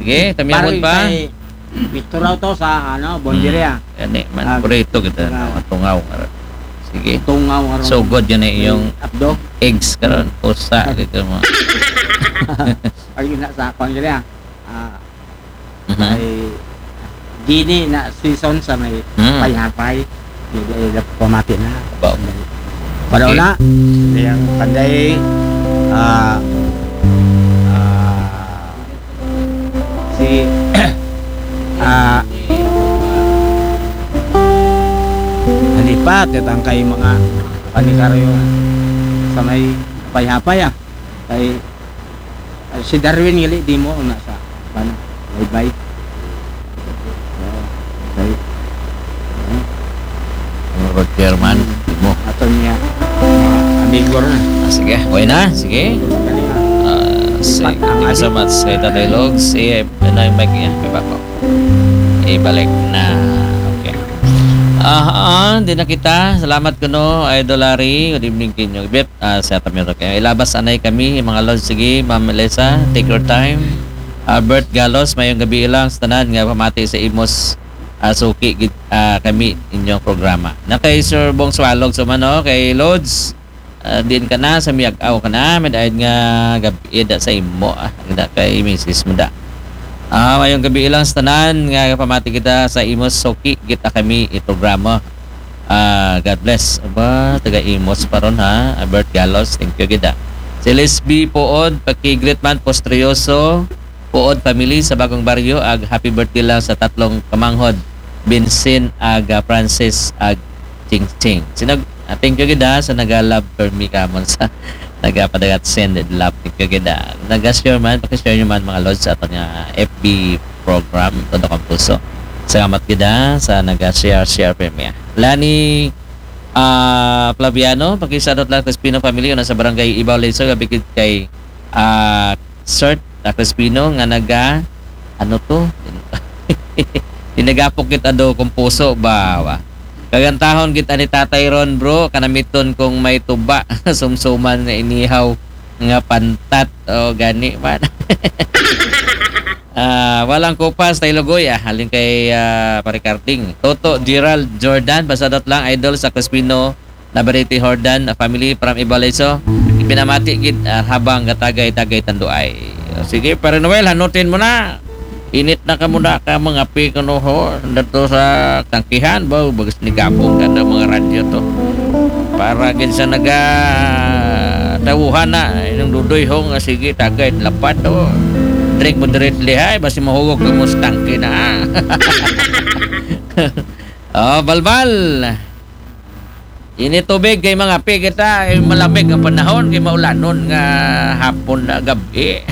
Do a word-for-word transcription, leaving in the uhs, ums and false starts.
Sige, tamyawon pa. Picture to sa, ano, boundary, ah. Gani man, Ah, purito kita, ah. no? Tungaw nga ron. Sige. Tungaw nga ron. Sugod yan eh, yung Abdo. Eggs karon, usa dito mo. Ay, yun na sa, boundary, ah. Ah, Mhm. ay, gini na season sa may Hmm. payapay. Hindi, eh, pamati na. Ba? Pero Okay. na, yung panday, ah, ah, si, ah, nalipat, itang kay mga panikaryo sa may hapay-hapay, ah. Kay, ah, si Darwin gali di mo na sa, ano, bye-bye. Okay. Ano ba, chairman? Mo. Ato niya, mga amigo rin. Ah, sige, okay na. Sige. Kani nga, Ah, sige. Ang Thank you so adik. Much kay Tatay Logs. Eh, ano yung mic niya? May bako. Ibalik na. Okay. Ah, ah, di na kita. Salamat ko, no, Idol Larry. Good evening, Kinyo. Bit, ah, sa Tamiro. Kaya ilabas anay kami, mga lods. Sige, Ma'am Melissa, take your time. Albert Galos, mayong gabi lang sa tanan nga pamati sa Imos, ah, suki gid, ah, kami inyong programa. Na kay Sir Bong Swalog, so man, no? Kay Lods, ah, din ka na, sa miyag-aw ka na, may daig nga gabi da sa imo, ah, da kay misis mo da. Ah, mayong gabi lang sa tanan nga pamati kita sa Imos suki gid kami i programa. Ah, God bless. Aba, taga Imos pa ron ha. Albert Galos, thank you gid, ah. Si Lisby Puod, paki-greet man, Postrioso, Puod family sa Bagong Baryo, ag happy birthday lang sa tatlong kamanghod, Vincent, ag, ah, Francis, ag Ching Ching. Sinag-, ah, thank you gid, ah, sa naga-love for me kamon sa nagapadagat send and love. Thank you gid, ah. Naga-share man, paki-share nyo man, mga lods, sa aton nga F B program, todo kang puso. Salamat gid, ah, sa naga-share, share for me, ah. Lani, ah, Flaviano, pakisadot lang Crispino family, una sa barangay Ibaw Leso, gabi gid kay, ah, Sir, ah, Crispino, nga naga, ano to? Dinagapok kita do kung puso ba, ba? Kagantahon kita ni Tatay Ron, bro, kanamiton kung may tuba, sumsuman nga inihaw nga pantat. O, gani man. Ah, walang kupas, Tay Lugoy, ah. Halin kay, ah, Pare Carding. Toto, Gerald, Jordan, pasadot lang, idol sa Crispino, Navarrete, Jordan, ah, family from Ibaw Leso. Ipinamati gid, ah, habang gatagay-tagay tanduay. O, sige, Pare Noel, hanutin mo na. Init na ka muna ka mga pi kuno ho. Dato sa tangkihan, ba, bagus ni gabong ka ng mga radyo to. Para gid sa naga tawuhan na, inong dudoy ho nga sige, tagay, lapad to. Drink moderately, hay, basi mahugog ka mo sa tangke na. Oh, balbal. Ini tubig kay mga pi kita, ay malamig ang panahon, kay maulanon nga hapon na gabi.